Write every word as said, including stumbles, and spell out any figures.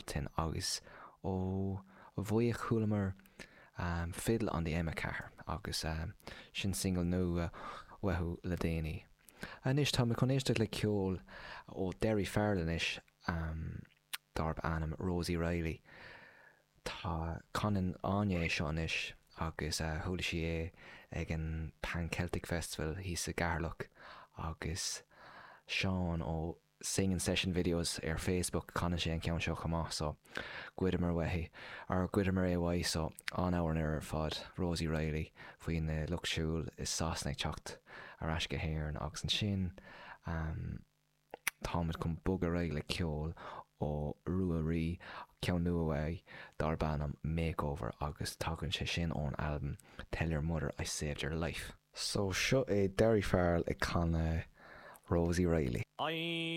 Bealtaine agus ó bhuaigh chualamar um, Fiddle on the M ceathair agus um, sin single nua uathu le déanaí. Anois tá mé chun éisteacht le ceol ó Daoirí Farrell anois um, darb ainm Rosie Reilly. Tá canann Áine é seo anois agus uh, chuala sí é ag an Pan Celtic Festival thíos i gCeatharlach agus Seán ó Singing Session Videos ar Facebook canann sé an ceann seo chomh maith, so goideamar uaithi ar goideamar é uaidh. So an-amhrán ar fad, Rosie Reilly, faoin na lucht siúil i Sasana ag teacht ar ais go hÉirinn. Agus ansin um, táimid chun bogadh ar aghaidh le ceol ó Ruairí, ceann nua uaidh darb ainm Makeover, agus tagann sé sin ón albam Tell Your Mother I Saved Your Life. So seo é Daoirí Farrell ag canadh Rosie Reilly. I